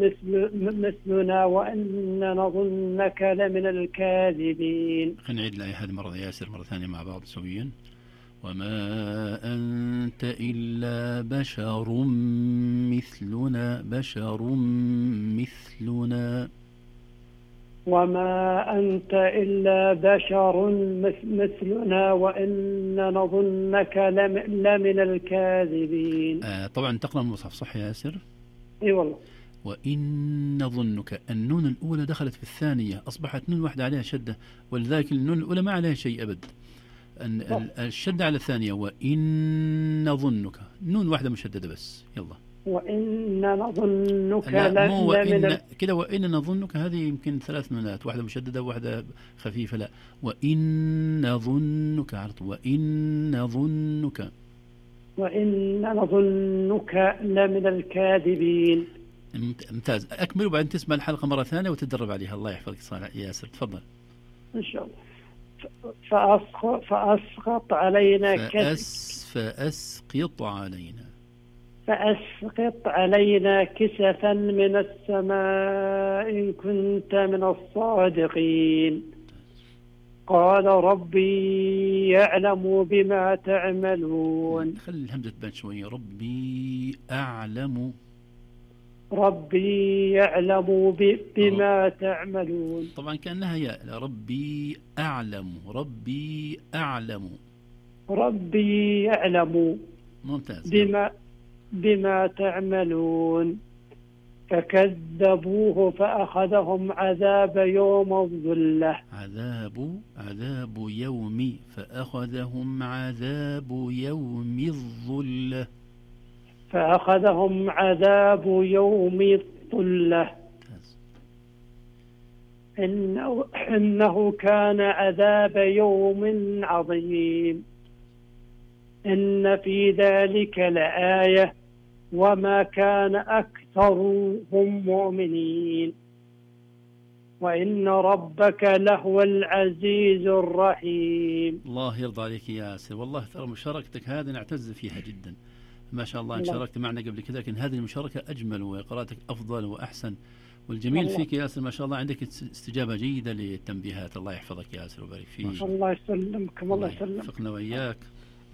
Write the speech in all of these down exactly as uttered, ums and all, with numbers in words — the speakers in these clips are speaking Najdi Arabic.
مثل مثلنا وإن نظنك لمن الكاذبين. خلينا نعيد الآية هذه مرة ياسر مرة ثانية مع بعض سويا. وما أنت إلا بشر مثلنا بشر مثلنا وما أنت إلا بشر مثلنا وإن نظنك لمن الكاذبين. آه طبعا تقرأ المصحف صح يا ياسر؟ اي والله. وإن نظنك، النون الأولى دخلت في الثانية أصبحت نون واحدة عليها شدة، ولذلك النون الأولى ما عليها شيء أبد. الشدة على الثانية وإن نظنك نون واحدة مشددة بس. يلا وإن نظنك لا مو وإن كده، وإن نظنك هذه يمكن ثلاث نونات، واحدة مشددة وواحدة خفيفة. لا وإن نظنك عرض وإن نظنك وإن نظنك لمن الكاذبين. ممتاز. أكمل وبعدين تسمع الحلقة مرة ثانية وتدرب عليها. الله يحفظك صالح ياسر، تفضل. إن شاء الله. فأسقط, فأسقط علينا فأس فأسقط علينا فأسقط علينا كسفا من السماء إن كنت من الصادقين. قال ربي يعلم بما تعملون. خلي الهمزة تبان شوية. ربي أعلم ربي يعلم بما تعملون. طبعا كأنها ياء. ربي أعلم ربي أعلم ربي يعلم ممتاز بما بما تعملون. فكذبوه فأخذهم عذاب يوم الظلة. عذاب عذاب يوم فأخذهم عذاب يوم الظلة فأخذهم عذاب يوم الظلة. إنه, إنه كان عذاب يوم عظيم. إن في ذلك لآية وما كان أكثرهم مؤمنين وإن ربك لهو العزيز الرحيم. الله يرضى عليك يا ياسر، والله ترى مشاركتك هذه نعتز فيها جدا ما شاء الله. إن شاركت معنا قبل كذا لكن هذه المشاركة أجمل وقراءتك أفضل وأحسن. والجميل الله. فيك يا ياسر ما شاء الله عندك استجابة جيدة للتنبيهات. الله يحفظك يا ياسر وبارك فيك. الله يسلمك. الله يسلمك. وفقنا وإياك.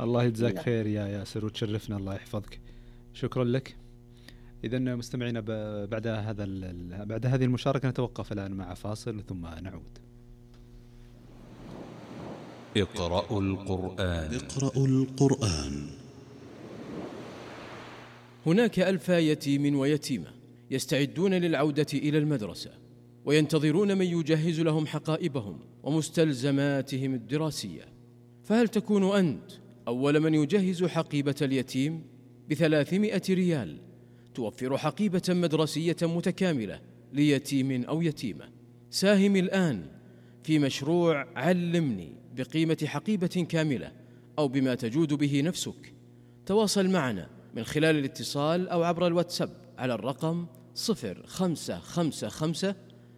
الله يجزاك خير يا ياسر وتشرفنا. الله يحفظك. شكرا لك. إذن مستمعينا بعد هذا بعد هذه المشاركة نتوقف الآن مع فاصل ثم نعود. اقرأوا القرآن. اقرأوا القرآن. هناك ألف يتيم ويتيمة يستعدون للعودة إلى المدرسة وينتظرون من يجهز لهم حقائبهم ومستلزماتهم الدراسية. فهل تكون أنت أول من يجهز حقيبة اليتيم بثلاثمائة ريال توفر حقيبة مدرسية متكاملة ليتيم أو يتيمة؟ ساهم الآن في مشروع علمني بقيمة حقيبة كاملة أو بما تجود به نفسك. تواصل معنا من خلال الاتصال أو عبر الواتساب على الرقم صفر خمسة خمسة خمسة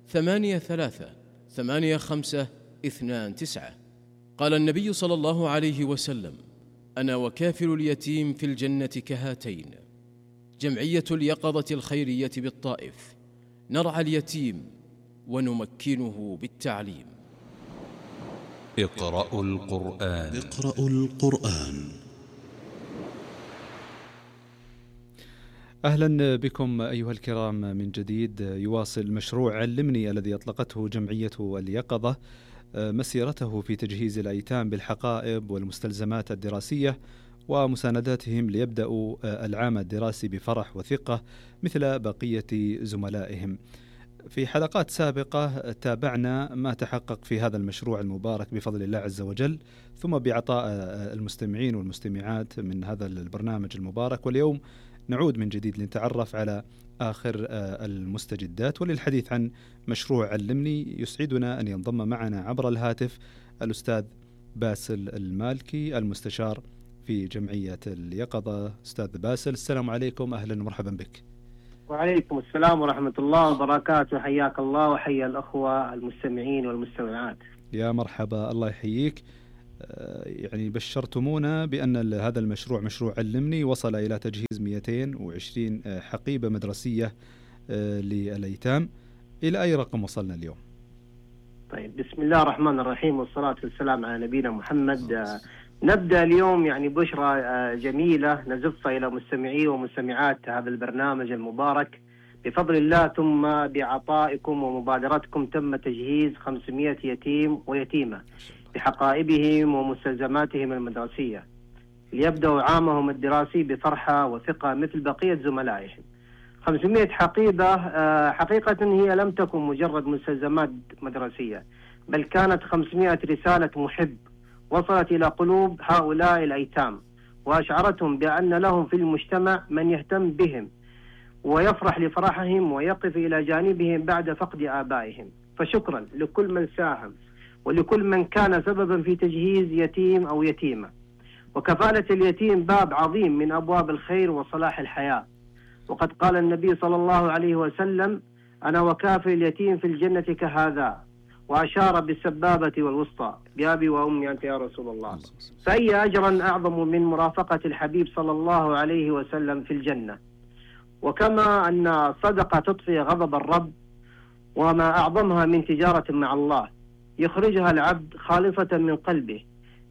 ثمانية ثلاثة ثمانية خمسة اثنان تسعة. قال النبي صلى الله عليه وسلم: أنا وكافل اليتيم في الجنة كهاتين. جمعية اليقظة الخيرية بالطائف، نرعى اليتيم ونمكنه بالتعليم. اقرأوا القرآن. اقرأوا القرآن. أهلا بكم أيها الكرام من جديد. يواصل مشروع علمني الذي أطلقته جمعية اليقظة مسيرته في تجهيز الأيتام بالحقائب والمستلزمات الدراسية ومسانداتهم ليبدأوا العام الدراسي بفرح وثقة مثل بقية زملائهم. في حلقات سابقة تابعنا ما تحقق في هذا المشروع المبارك بفضل الله عز وجل، ثم بعطاء المستمعين والمستمعات من هذا البرنامج المبارك. واليوم نعود من جديد لنتعرف على آخر المستجدات وللحديث عن مشروع علمني. يسعدنا أن ينضم معنا عبر الهاتف الأستاذ باسل المالكي المستشار في جمعية اليقظة. أستاذ باسل، السلام عليكم، أهلا ومرحبا بك. وعليكم السلام ورحمة الله وبركاته. حياك الله وحيا الأخوة المستمعين والمستمعات. يا مرحبا، الله يحييك. يعني بشرتمونا بأن هذا المشروع مشروع علمني وصل إلى تجهيز مئتين وعشرين حقيبة مدرسية للأيتام. إلى أي رقم وصلنا اليوم؟ طيب، بسم الله الرحمن الرحيم، والصلاة والسلام على نبينا محمد. آه نبدأ اليوم يعني بشرى آه جميلة نزفها إلى مستمعي ومستمعات هذا البرنامج المبارك بفضل الله، ثم بعطائكم ومبادرتكم تم تجهيز خمسمائة يتيم ويتيمة بحقائبهم ومستلزماتهم المدرسية ليبدأوا عامهم الدراسي بفرحة وثقة مثل بقية زملائهم. خمسمائة حقيبة حقيقة هي لم تكن مجرد مستلزمات مدرسية، بل كانت خمسمائة رسالة محب وصلت إلى قلوب هؤلاء الأيتام، وأشعرتهم بأن لهم في المجتمع من يهتم بهم ويفرح لفرحهم ويقف إلى جانبهم بعد فقد آبائهم. فشكرا لكل من ساهم ولكل من كان سببا في تجهيز يتيم أو يتيمة. وكفالة اليتيم باب عظيم من أبواب الخير وصلاح الحياة، وقد قال النبي صلى الله عليه وسلم: أنا وكافل اليتيم في الجنة كهذا، وأشار بالسبابة والوسطى بأبي وأمي أنت يا رسول الله. فأي أجرا أعظم من مرافقة الحبيب صلى الله عليه وسلم في الجنة. وكما أن الصدقة تطفئ غضب الرب، وما أعظمها من تجارة مع الله يخرجها العبد خالصة من قلبه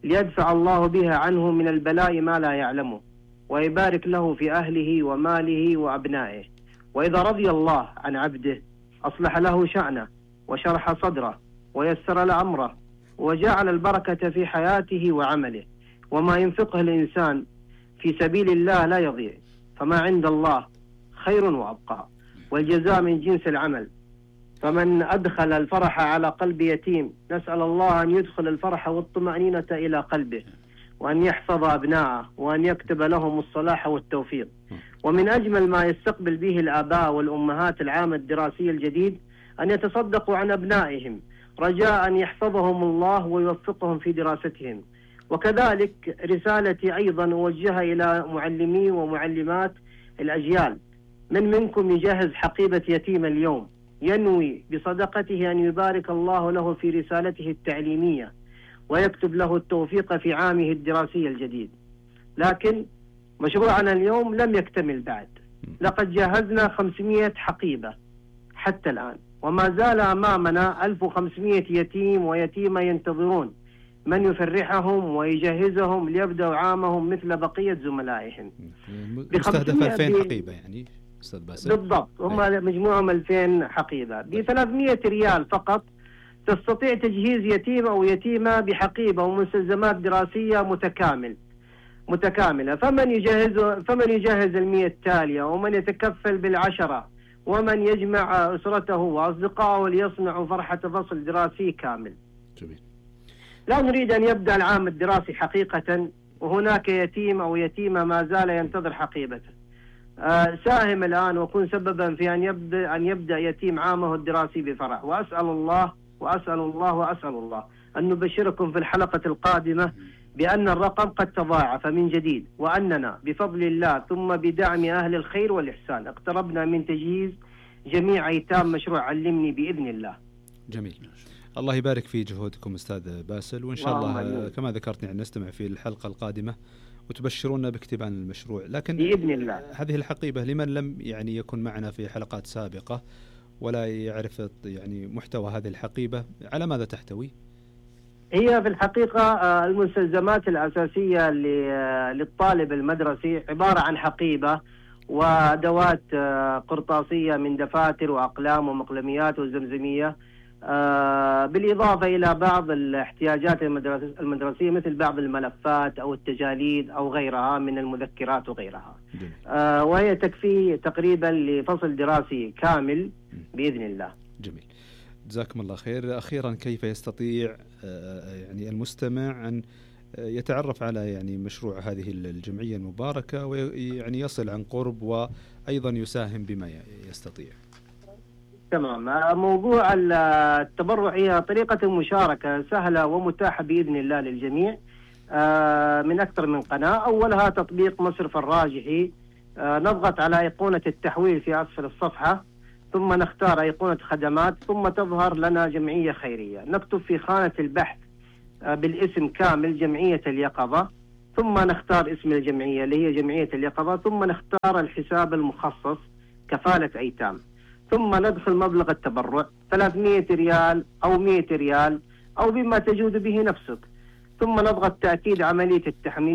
ليدفع الله بها عنه من البلاء ما لا يعلمه، ويبارك له في أهله وماله وأبنائه. وإذا رضي الله عن عبده أصلح له شأنه وشرح صدره ويسر له أمره وجعل البركة في حياته وعمله. وما ينفقه الإنسان في سبيل الله لا يضيع، فما عند الله خير وأبقى، والجزاء من جنس العمل. فمن أدخل الفرح على قلب يتيم نسأل الله أن يدخل الفرح والطمأنينة إلى قلبه، وأن يحفظ أبناءه، وأن يكتب لهم الصلاح والتوفيق. ومن أجمل ما يستقبل به الآباء والأمهات العام الدراسي الجديد أن يتصدقوا عن أبنائهم رجاء أن يحفظهم الله ويوفقهم في دراستهم. وكذلك رسالتي أيضا أوجهها إلى معلمي ومعلمات الأجيال: من منكم يجهز حقيبة يتيم اليوم ينوي بصدقته أن يبارك الله له في رسالته التعليمية ويكتب له التوفيق في عامه الدراسي الجديد. لكن مشروعنا اليوم لم يكتمل بعد، لقد جهزنا خمسمائة حقيبة حتى الآن، وما زال أمامنا ألف وخمسمائة يتيم ويتيمة ينتظرون من يفرحهم ويجهزهم ليبدأوا عامهم مثل بقية زملائهم. مستهدف ألفين حقيبة يعني أستاذ باسل؟ بالضبط، هم مجموعهم ألفين حقيبة ب ثلاثمائة ريال فقط. تستطيع تجهيز يتيم أو يتيمة بحقيبة ومستلزمات دراسية متكامل متكاملة. فمن يجهز فمن يجهز المئة التالية، ومن يتكفل بالعشرة، ومن يجمع أسرته وأصدقائه ليصنعوا فرحة فصل دراسي كامل. جميل. لا نريد أن يبدأ العام الدراسي حقيقة وهناك يتيم أو يتيمة ما زال ينتظر حقيبته. آه ساهم الآن وكن سببا في أن يبدأ أن يبدأ يتيم عامه الدراسي بفرح. وأسأل الله وأسأل الله وأسأل الله أن نبشركم في الحلقة القادمة بأن الرقم قد تضاعف من جديد، وأننا بفضل الله ثم بدعم أهل الخير والإحسان اقتربنا من تجهيز جميع أيتام مشروع علمني بإذن الله. جميل. الله يبارك في جهودكم أستاذ باسل، وإن شاء الله, الله كما ذكرت يعني نستمع في الحلقة القادمة وتبشرونا باكتمال المشروع. لكن بإذن الله هذه الحقيبة لمن لم يعني يكن معنا في حلقات سابقة ولا يعرف يعني محتوى هذه الحقيبة، على ماذا تحتوي؟ هي في الحقيقة المستلزمات الأساسية للطالب المدرسي عبارة عن حقيبة وأدوات قرطاسية من دفاتر وأقلام ومقلميات وزمزمية، بالإضافة إلى بعض الاحتياجات المدرسية مثل بعض الملفات أو التجاليد أو غيرها من المذكرات وغيرها. جميل. وهي تكفي تقريبا لفصل دراسي كامل بإذن الله. جميل، جزاكم الله خير. أخيرا، كيف يستطيع يعني المستمع أن يتعرف على يعني مشروع هذه الجمعية المباركة ويعني يصل عن قرب وأيضا يساهم بما يستطيع؟ تمام. موضوع التبرع هي طريقة المشاركة سهلة ومتاحة بإذن الله للجميع من أكثر من قناة. أولها تطبيق مصرف الراجحي، نضغط على أيقونة التحويل في أسفل الصفحة، ثم نختار أيقونة خدمات، ثم تظهر لنا جمعية خيرية. نكتب في خانة البحث بالاسم كامل جمعية اليقظة، ثم نختار اسم الجمعية اللي هي جمعية اليقظة، ثم نختار الحساب المخصص كفالة أيتام، ثم ندخل مبلغ التبرع ثلاثمائة ريال أو مائة ريال أو بما تجود به نفسك، ثم نضغط تأكيد عملية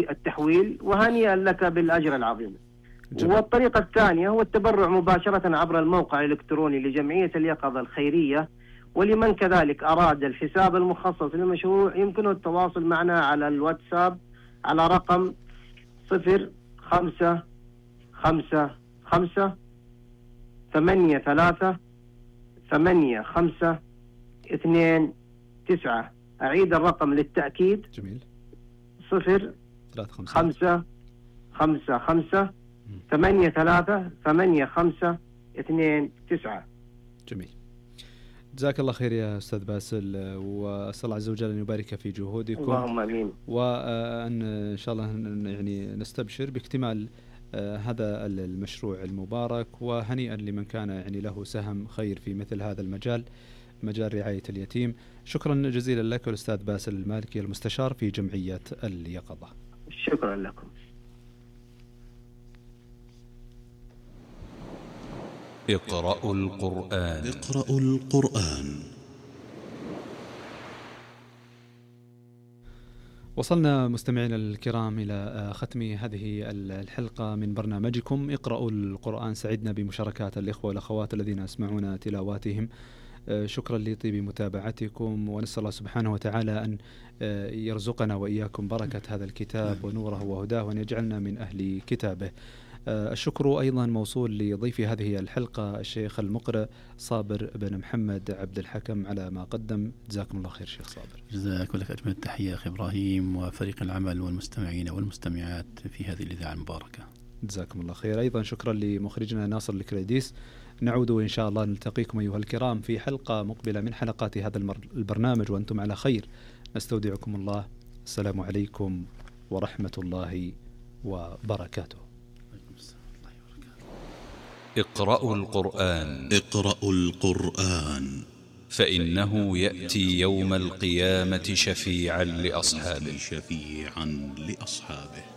التحويل، وهنيئا لك بالأجر العظيم. جميل. والطريقة الثانية هو التبرع مباشرة عبر الموقع الإلكتروني لجمعية اليقظة الخيرية. ولمن كذلك أراد الحساب المخصص للمشروع يمكنه التواصل معنا على الواتساب على رقم صفر خمسة خمسة خمسة ثمانية ثلاثة ثمانية خمسة اثنين تسعة. أعيد الرقم للتأكيد. جميل. صفر خمسة خمسة خمسة ثمانية ثلاثة ثمانية خمسة اثنين تسعة. جميل. جزاك الله خير يا أستاذ باسل، وأسأل الله عز وجل أن يبارك في جهودكم. اللهم آمين. وأن إن شاء الله يعني نستبشر باكتمال هذا المشروع المبارك، وهنيئا لمن كان يعني له سهم خير في مثل هذا المجال، مجال رعاية اليتيم. شكرا جزيلا لك الأستاذ باسل المالكي المستشار في جمعية اليقظة. شكرا لكم. اقرأوا القرآن. اقرأوا القرآن. وصلنا مستمعينا الكرام إلى ختم هذه الحلقة من برنامجكم اقرأوا القرآن. سعدنا بمشاركات الإخوة والأخوات الذين يسمعون تلاواتهم. شكرا لطيب متابعتكم، ونسأل الله سبحانه وتعالى أن يرزقنا وإياكم بركة هذا الكتاب ونوره وهداه، وأن يجعلنا من أهل كتابه. الشكر أيضا موصول لضيف هذه الحلقة الشيخ المقرئ صابر بن محمد عبد الحكم على ما قدم. جزاكم الله خير شيخ صابر. جزاك لك أجمل التحية أخي إبراهيم وفريق العمل والمستمعين والمستمعات في هذه الإذاعة المباركة. جزاكم الله خير. أيضا شكرا لمخرجنا ناصر الكريديس. نعود إن شاء الله نلتقيكم أيها الكرام في حلقة مقبلة من حلقات هذا البرنامج وأنتم على خير. نستودعكم الله. السلام عليكم ورحمة الله وبركاته. اقرأوا القرآن. اقرأوا القرآن فإنه يأتي يوم القيامة شفيعا لأصحابه. شفيعا لأصحابه.